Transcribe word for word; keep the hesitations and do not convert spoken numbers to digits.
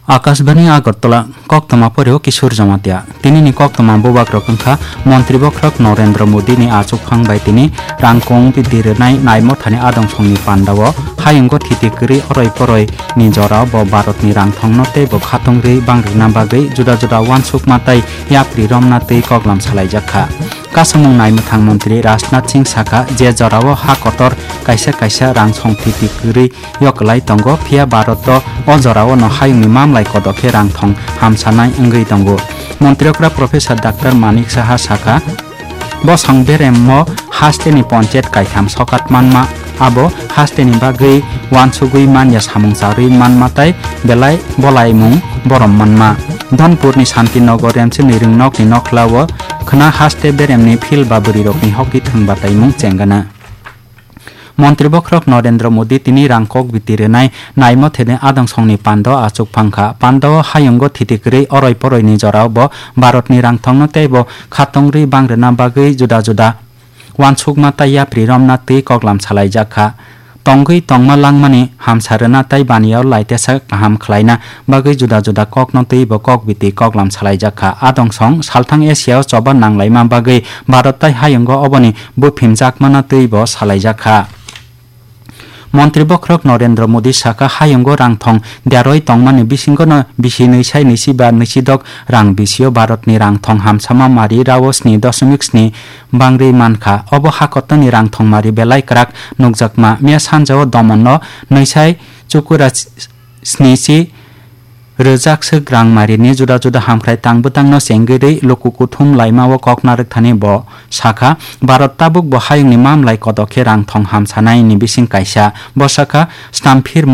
Akashbani Agartala, koktwma poreo Kishore Jamatia. Tinini koktwma bubagrok wngkha Montri Bokhorok Narendra Modi ni achukphang bai tini rangkong bidi rwnai naimothani adong songni pandao hayungo thiti kwrwi oroi poroi ni jorao bo Bharat ni rangthongno tei bo khatungri bangrwna bagwi juda juda uansukma tei yapri romna twi koklam salaijak kha. Kasamung naimwthang montri Rajnath Singh sakha, je jorao ha kotor kaisa kaisa rang song thiti kwrwi yoklai tongo, phiya Bharat o jorao no hayungni mamlai kodok khe rangthong hamsanai wngwi tongo. Montri okra Professor Doctor Manik Saha sakha, bosong beremo hasteni ponchayat kaitham sokat manma, abo hasteni bagwi uansugwi manya samung charwi manma tei belai bolaimung borom manma. Dhonpurni Santinagar Remchini ringnokni nokhlao khwna haste beremni phil ba bwrwirokni hoki thwng bataimung chengana. Montri Bokhorok Narendra Modi tini rang kok biti rwnai naimotheni adong songni pando achukphang kha. Pando hayungo thiti kwrwi oroi poroini jorao bo Bharatni rangthongno tei bo khatungri bangrwna bagwi juda juda uansukma tei yapri romna twi koklam salaijak kha. Tongwi tongma langmani hamsa rwna tei baniao laitesa kaham khlaina bagwi juda juda kokno twi bo kok biti koklam salaijak kha. Adong song salthang Asia o choba nanglaima bagwi Bharat tei hayungo oboni buphimjakmana twi bo salaijak kha. Montri Bokhorok Narendra Modi sakha, hayungo rangthong deroi tongmani bisingono bisi nwi sai nwi si ba nwi si dok rang bisio Bharatni rangthong hamsama mari rao sni doshomik sni bangri mankha. Obo hakotoni rangthong mari belai kwrak nukjakma. Miya sanjao Domonno nwi sai chukura sni si rwjak swk rang marini juda juda hamkrai tang bwtangno chengwi rwi luku kuthum laimao kok narwkthani bo sakha, Bharat tabuk bo hayungni mamlai kodok khe rangthong hamsanaini bising kaisa. Bo sakha, stamphirmung